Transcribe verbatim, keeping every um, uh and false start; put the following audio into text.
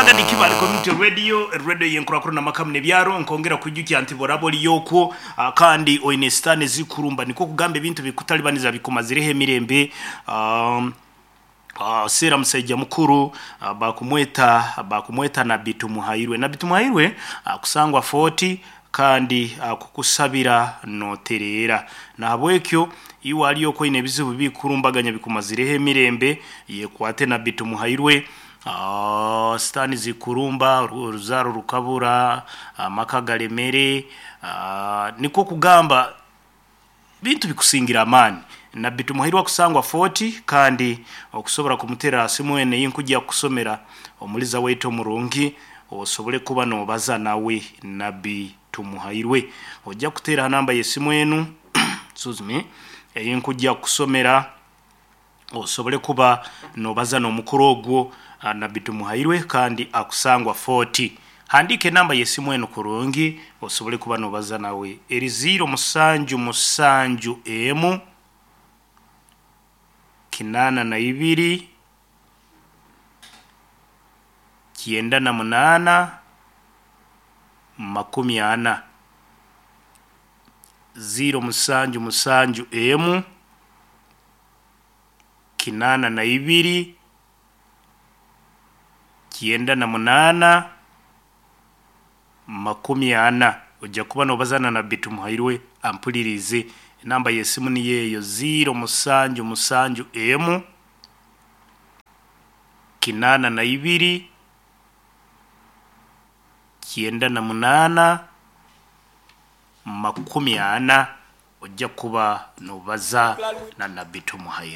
Amaka ni Kibale Community Radio, radio yenkurakuru namaka nebyaro. Nkongera kwijukya nti borabo liyokwo ah, kandi oine sitane zikurumba, niko kugamba ebintu bikutalibaniza bikumazireho emirembe. um, Uh, sera musaija mukuru, uh, bakumweta bakumweta Nabbi Tumuhairwe. Nabbi Tumuhairwe uh, kusangwa forty kandi uh, kukusabira noterera. Nahabwekyo iwe aliyo koine ebizibu bikurumbaganya bikumazireho emirembe, yekwate Nabbi Tumuhairwe. Uh, sitani zikurumba, oruzaro rukabura, amaka galemere, uh, niko kugamba bintu bikusingira amaani. Nabbi Tumuhairwe kusangwa forty, kandi okusobora kumutera simu ene yinkujja kusomera omuliza waitu omurungi osobole kuba nobaza nawe. Nabbi Tumuhairwe ojja kuteera namba y'esimu enu, excuse me, eyinkujja kusomera osobole kuba nobaza n'omukuru ogwo, ah, Nabbi Tumuhairwe, kandi akusangwa forty. Handika enamba y'esimu eno kurungi osobole kuba nobaza nawe. Eri ziro musanju musanju emu kinana na ibiri kyenda na munana makumi ana. Ziro musanju musanju emu kinana na ibiri kyenda na munana makumi ana. Ojja kuba nobazana na Nabbi Tumuhairwe ampulirize. Enamba y'esimu niyo eyo, ziro musanju musanju emu kinana na ibiri kyenda na munana makumi ana. Ojja kuba nobaza na Nabbi Tumuhairwe.